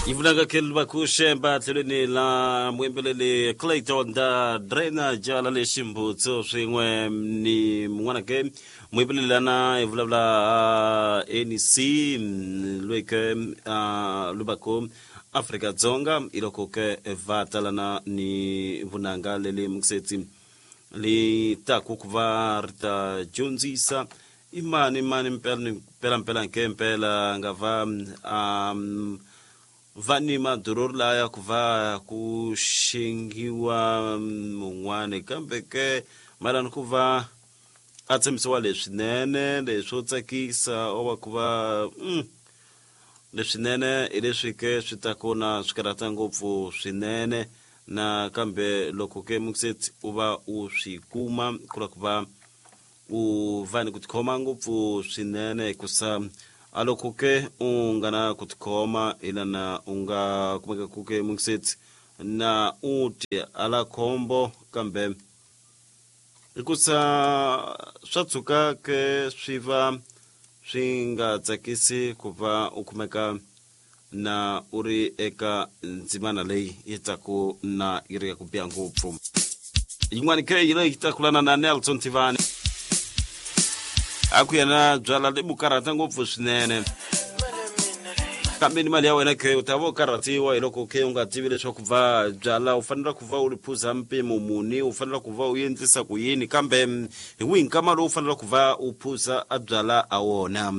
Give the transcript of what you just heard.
Yi vulaka Kelbakushemba tlhelweni la muyimbeleri Clayton da Drainer jala lexi mbutsu swin'we ni mun'wana ke muyimbeleri lana hi vulavula NC loyi ke luvako Afrika Dzonga hi loko ke va talana ni vunanga leli mukisetsi li taku ku va ri ta dyondzisa i mani mani mpela ni mpela mpela nke mpela nga va um, va ni madurori laya ku va ku xengiwa mun'wani kambe ke mayelana ku va a tshembisiwa leswinene leswo tsakisa o va ku va leswinene hi leswi ke swi ta kona swi karhata ngopfu swinene na kambe loko ke mukisetsi u va u swi kuma ku la ku va u va ni ku tikhoma ngopfu swinene hikusa a loko ke u nga na ku tikhoma hi lana u nga kumeka ku ke mukisetsi na u ti ala khombo kambe hikusa swa tshuka ke swi va swi nga tsakisi ku va u kumeka na u ri eka ndzimana leyi yi taku na yi ri ya ku biha ngopfu. Yin'wana ke yi leyi takulana na Nelson Tivani a ku yena byala leyi karhata ngopfu swinene kambe ni mali ya wena ke u ta va u karhatiwa hi loko ke u nga tivi leswaku va byala u fanele ku va u ri phuza mpimo muni u fanele ku va u endlisa ku yini kambe hi wihi nkama lowu u fanele ku va u phuza a byala a wona.